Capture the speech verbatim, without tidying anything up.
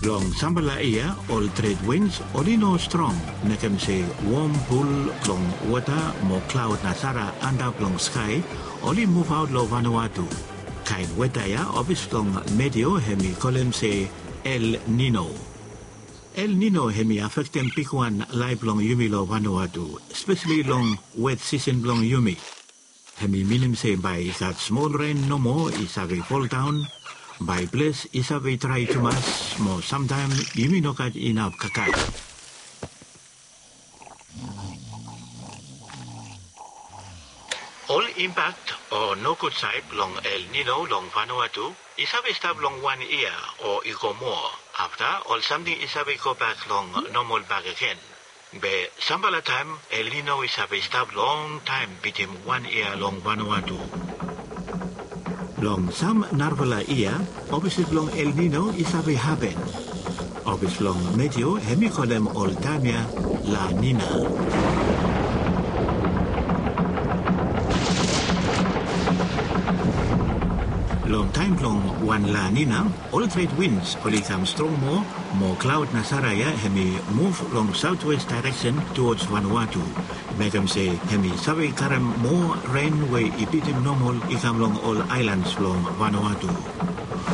Long sampela yia ol tret wins oli no strong, mekem se wom pul blong wota mo klaud na sara antap long skai oli muvaot long Vanuatu. Kain weta ya ofis blong Meteo hem i kolem se El Nino. El Nino hem i afektem bigwan laef blong yumi long Vanuatu, spesali long wet sisen blong yumi. Hem i minim se bae i gat smol ren nomo i save foldaon, bae ples i save drae tumas, mo samtaem yumi no gat inaf kakal. Ol impak o nogud saed blong El Nino long Vanuatu i save stap long wan yia o i go moa. Afta ol samting i save gobak long nomol bakegen. Be sampela taem El Nino i save stap longtaem bitim wan yia long Vanuatu. Long sam narafala yia, opposite blong El Nino i save hapen. Ofis blong Meteo hem i kolem ol taem ya La Nina. Long taem blong wan La Nina, ol tret wins oli kam strong moa, mo klaod na sara ya hem i muv long saotwes daereksen tuods Vanuatu, mekem se hem i save karem moa ren we i bitim nomol i kam long ol aelans blong Vanuatu.